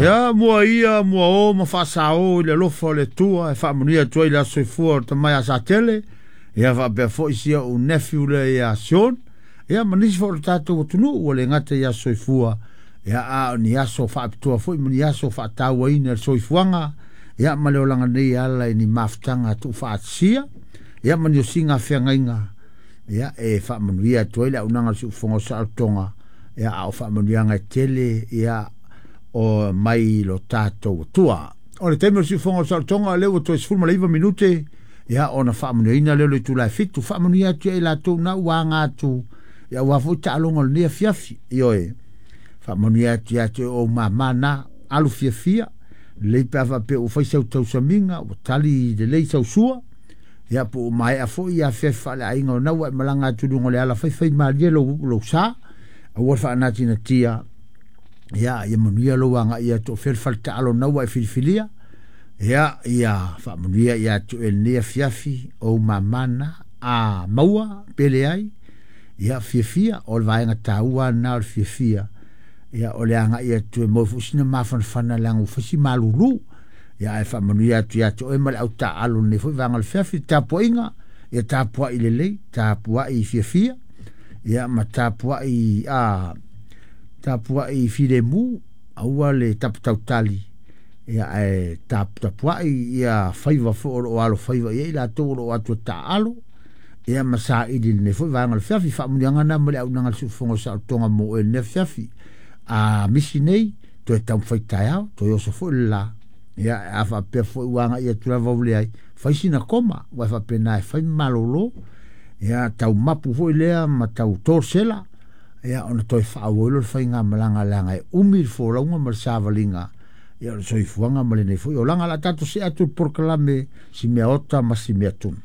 Ia mua ia mua o ma faasao i le alofa o le Atua e faamanuia atu ai le aso soifua o le tama ia Satele, ia faapea foi si ou nephew lea ia Sean, ia ma nisi foi o le tatou atunuu ua le gata i aso soifua, ia a o ni aso faapitoa foi ma ni aso faatauaina le soifuaga, ia ma le olaga nei e ala i ni mafutaga tuufaatasia, ia ma ni osiga feagaiga, ia e faamanuia atu ai le auaunaga a le siufofoga o saolotoga, ia a o faamanuiaga e tele ia o mai lo tatou Atua. O le taimi o le siufofoga o saolotoga lea ua toe 19 minute, ia ona faamanuiaina lea o le itula e 7, faamanuia atu ia i latou na ua aga atu, ia aua foi taaloga o lenei afiafi, ioe, faamanuia atu ia te ou mama na, alu fiafia, lelei pe a faapea ua fai sau tausamiga, ua tali lelei sau sua, ia po ua maea foi ia afiafi faaleaiga o na ua e malaga atu i luga o le ala faifai malie lou sa, aua le faanatinatia, ia ia manuia lou agai atu o fea le faletaalo na ua e filifilia, ia ia faamanuia ia te oe lenei afiafi ou mama na, a maua pe leai, ia fiafia, o le vaega taua lena o le fiafia, ia o le agai atu e maua foi sina mafanafana leaga ua fai si malulu, ia ae faamanuia atu ia te oe ma le autaalo lenei foi vaega o le fiafi, tapuaiga, ia tapuai lelei, tapuai fiafia, ia ma tapuai a tapuai filemu, aua le tapatautali, ia ae taputapuai ia faiva foi o loo alo faiva i ai latou o loo atu e taaalo, ia ma saili lenei foi vaega o le fiafi, faamanuiaga na ma le auaunaga a le siufofoga o saolotoga mo oe lenei afiafi. A misi nei, toe taumafai taeao, toe oso foi le la, ia a faapea foi ua agai atu lava ua leai, fai sina koma, ua faapena e fai ma malolo, ia tau mapu foi lea ma tau torsela, ia ona toe faaauau le faigamalaga leaga e umi le folauga ma le savaliga, ia o le soifuaga ma lenei foi olaga. O le a tatou see atu i le polokalame si mea ota ma si mea tunu.